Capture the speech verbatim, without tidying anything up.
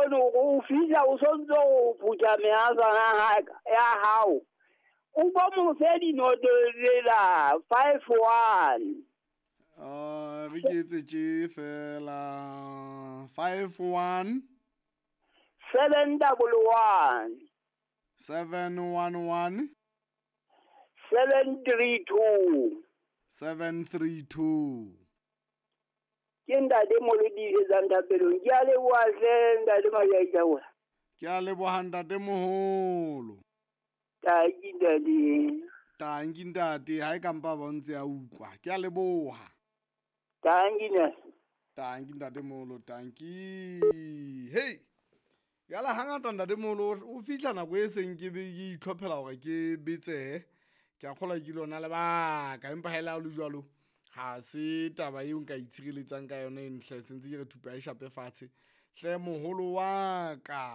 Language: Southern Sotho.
bone hore o fihla o sontso o phutha mehasana ya hao. O bo mo fe dinoto tsela five one. Uh, re ke etse tje fela five one Seven double one. seven one one Seven three two. seven three two. Ke ntate Molodi thapelong. Ke a leboha hle ntate Majaitaola. Ke a leboha ntate moholo. Tanki ntate. Tanki ntate, ha e kampa ba ntse a utlwa. Ke a leboha. Tanki ntate. Tanki ntate moholo, tanki. Hey. Jwale hangata ntate moholo o fihla nako e seng ke be ke itlhophela hore ke betsehe. Ke a kgolwa ke lona lebaka, empa ha ele ha o le jwalo ha se taba eo nka itshireletsang ka yona e ntle, se ntse ke re thupa e shape fatshe. Hle moholo wa ka.